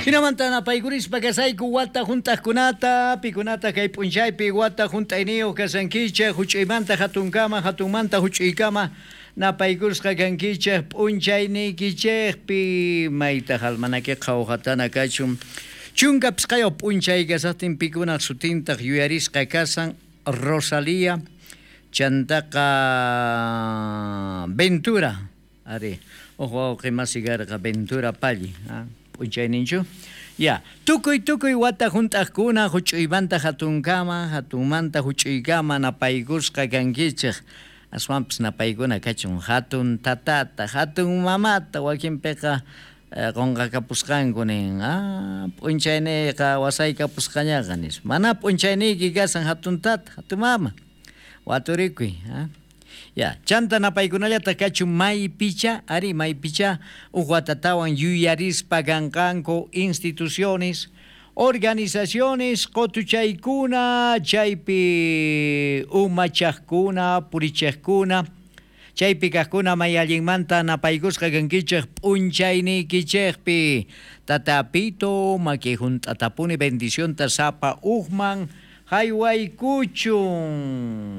Jinamanta napaykurispa kasayku wata junt'ajkunata, pikunata kay p'unchaypi wata junt'ayniyuq kasankichej, juch'uymanta jatunkama, jatunmanta juch'uykama napaykusqa kankichej p'unchayniykichejpi. Mayta almanaqueqa qhawjatana kachun. 15 p'unchay kasajtin pikunaj sutintaq yuyarisqa kasan Rosalía, chantaqa Ventura, ari, uj wawqi masi karqa Ventura Palli, p'unchayninchu. Ya, tukuy tukuy wata junt'ajkuna juch'uymanta jatunkama, jatunmanta juch'uykama napaykusqa kankichej. Aswanpis napaykuna kachun jatun tatata, jatun mamata, wakinpiqa qonqakapusqanku nin, p'unchayniyqa wasaykapusqañaqa nispa. Mana p'unchayniyki kasan jatun tata, jatun mama, waturikuy. Ya, chanta napaykunallata kachun maypicha, ari maypicha uj watatawan yuyarispa kanqanku instituciones, organizaciones, qotuchaykuna, chaypi umachajkuna, purichejkuna, chaypi kajkuna may allinmanta napaykusqa kankichej p'unchayniykichejpi. Tata Pito, maki junt'atapuni bendicionta sapa ujman jaywaykuchun.